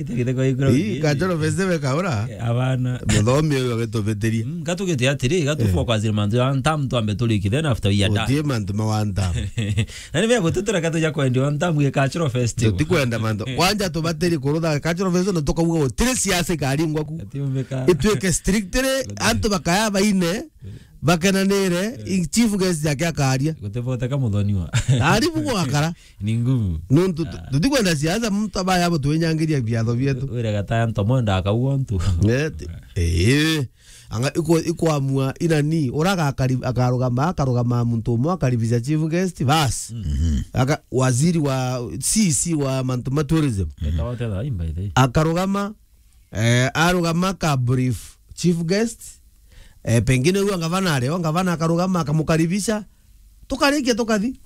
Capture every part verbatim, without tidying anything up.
Ii, Cultural Festival ikaura. Eh, abana. Muthomi uyu agitubitiria. Mm, gatugite atiri, gatufwa kwa zile mantu ya one term twambe turikithe na after we are done. Utie mantu ma one term. Na ni mea gututura katuja kwendi one term ye Cultural Festival. Tutikwenda mantu. Kwanja tubatiri kurutha Cultural Festival na tukauga gutiri siasa ikaringwa ku. Ati umbika. Itwike strictly antu bakaya baine, bakenanire, i-, chief guest yake akaria. Gutiboteka muthoniwa. Ari bu gwakara. Ni ngumu. Nuntu tu-, tutikwenda siasa, muntu abaya abo twinyangiria biatho bietu. Wira gataya ntomo ndakauga ntu. Eh, ti-, eh. Anga iko-, ikwamua inani, ura agakari-, akarugama, akarugama muntu umwe akaribisha chief guest, bas. Mhm. Aka-, waziri wa C C wa mantu ma tourism. Etawa tena imba ithi. Akarugama, eh, arugama ka brief chief guest, eh, pengine huyo ngavana areo, ngavana akarugama akamukaribisha, tukarikia tukathi.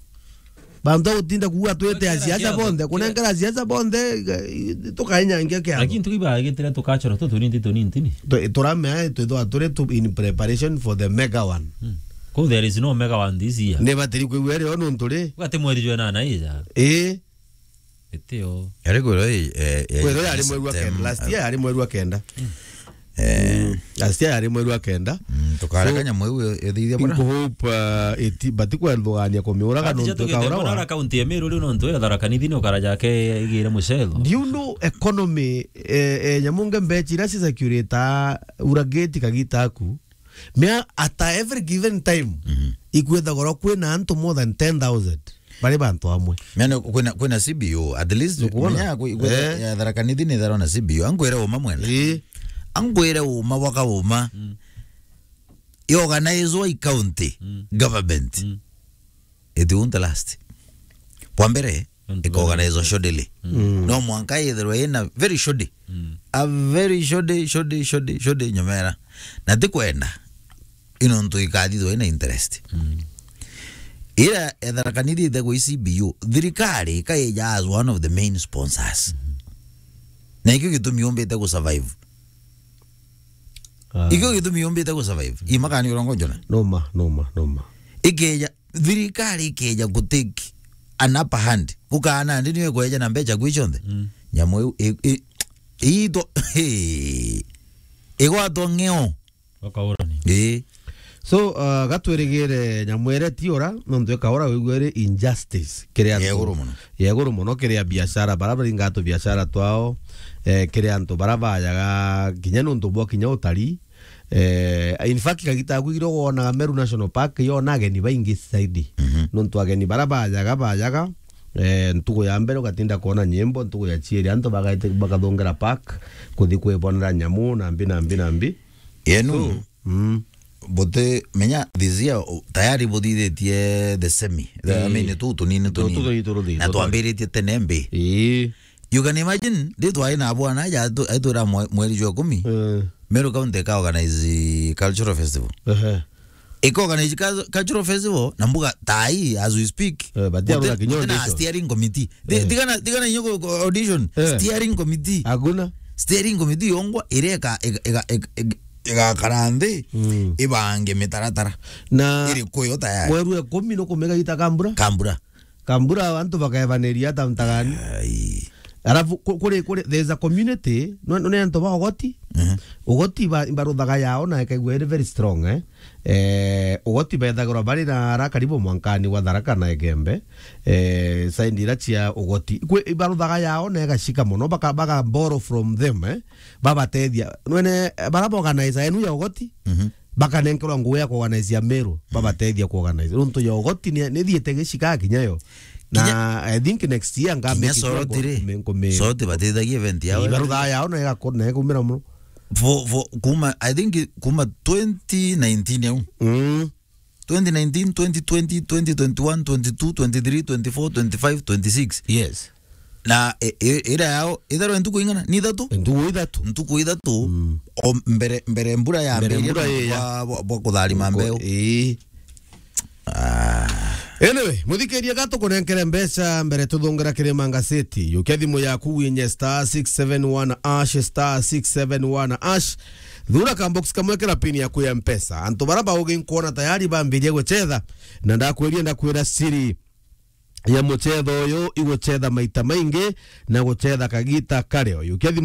Bantu a gutinda kuuga twite a siasa bonthe, kunenkera siasa bonthe, eh, tukainyangia kiatho. Lakini tukiba gitire tukachora tu tunini tunini tini. Tu-, turamea twithwa turi tu in preparation for the mega one. Hmm. Ko there is no mega one this year. Ni batiri kwigua rio nuntu ri. Ugate mweri jwa nana ija. Ii. Itio. Yari kwirwo, eh, eh, kwirwo yari mweri wa kenda. Last year yari mweri wa kenda. Eh. Mm. Last year yari mweri wa kenda. Mm, tukareka nyamu iu ithithia bwana. So, nkuhope, uh, iti-, batikwendugania kumiuraga nontu ikaura wa. Ati jatugite mwana kaunti ya Meru riu nontu ya Tharaka Nithi ni ukara jake igire mucetho. Do you know economy, eh, eh, nyamu nge mbechi ira cicirculate ura gate kagita aku? Mea at every given time, mhm, ikwithagorwa kwina antu more than ten thousand bari bantu amwe. Mea ni kwina, kwina C B O, at least, nukwona? Menya kwi-, kwi-, eh, ya Tharaka Nithi ni ithagorwa na C B O. Ankwire uma mwene. Ii. Ankwire uma bwaka uma. Mm. I organizwa i county, mm, government. Mm. It won't last. Bwa mbere, nontu ikaorganizwa shoddily. Mm. No mwanka yethirwe ina very shoddy. Mm. A very shoddy, shoddy, shoddy, shoddy nyomera. Na ti kwenda. Ino ntu ikathithwa ina interest. Mm. Ira ethera kanithite gwi C B U, thirikari ikaija as one of the main sponsors. Mm. Na ikio gitumi yumbite gu survive. Ah. Ikio gitumi yumbite gu survive. Imakani urongo njona. Noma, noma, noma. Ikeja, thirikari ikeja ku take an upper hand. Ukaana ndi niwe kweja na mbecha kwi cionthe. Mm. Nyamu iu, i, i, iito, igwatwa ng'eo. Bakaurani. Ii. So, uh, gatwirigire nyamu iria ti ura, nontu ikaura wigua iri injustice kiri antu. Ya iguru mono. Ya iguru mono kiri a biashara, bara baringa tu biashara twao, eh, kiri antu bara bajaga kinya nontu bwa kinya utari. Eh, in fact, kagita aku igiro wonaga Meru National Park, yona ageni baingi zaidi. Mhm. Nontu ageni bara bajaga, bajaga, eh, ntugu ya mbere ugatinda kwona nyimbo, ntugu ya chieri antu bagaite-, bakathongera park, kuthi kwibonera nyamu, na mbi, na mbi, na mbi. Yenu, so, mm, buti, menya, this year, u-, tayari buthithitie the semi. The, I, mm, mean, tu tunini, tu tunini, tunini turuthi, na tu twambiritie tene mbi. Ii. You can imagine, ndi twari na bwana aja atu-, atwira mwe-, mweri jwa ikumi, eh, Meru County ika organize cultural festival. Ehe. Ika organize cul-, cultural festival, na mbuga tai, as we speak, eh, but ya guti-, kinya guti na audition. Steering committee. Ti-, eh, tigana, tigana inyo ku-, ku-, audition, eh, steering committee. Hakuna. Steering committee yongwa, iria ika-, ika-, ika-, ika-, ika-, igakara nthi, mm, ibange mitaratara. Na iri kuyo tayari. Mweri wa ikumi nukumega gita kambura? Kambura. Kambura antu bakebaniria ata mtagani. Ai. Alafu ku-, kuri, kuri, there's a community, nwe-, nwe antu ba Ugoti. Mhm. Ugoti ba-, baruthaga yao na ikaigua iri very strong, eh. Eh, Ugoti bethagirwa bari na ara karibu mwankani wa Tharaka na Igembe. Eh, side ira cia Ugoti. Kwi, ibaruthaga yao na igacika mono, baka, baka borrow from them, eh. Babatethia. Nwene, eh, bara ba organize enu ya Ugoti, mhm, bakanenkerwa ngugi ya kuorganize ya Meru, mhm, babatethia kuorganize. Nontu ya Ugoti ni, ni thiete gicika kinya yo. Na kinya, I think next year nga kinya make sure Soroti ri, nkume-, nkume-, Soroti batethagia event yao. Ibaruthaga yao na igakora na ikaumira mono. For, for, kuma, I think kuma twenty nineteen au. Mm. Twenty nineteen, twenty twenty, twenty twenty-one, twenty-two, twenty-three, twenty-four, twenty-five, twenty-six. Yes. Na, e, e, ira yao, itharwa ntuku ing'ana? Ni ithatu? Ntuku ithatu. Ntuku ithatu, mm, o mbere, mbere mbura ya mbere mbere mbura ya bwa, bwa, bwa kutharima mbeu. Ii. Ah. Anyway, muthikiria, gatukunenkere mbeca mbere tuthungera kiri mangaceti. Yukia thimu yaku winye star six seven one hash, star six seven one hash. Thura ka box kamwe kira pin yaku ya Mpesa. Antu bara baugi nkuona tayari bambirie guchetha. Na ndakwiria, ndakwira siri. ya mucetho uyu igucetha maita maingi na gucetha kagita kari uyu. Kiathimo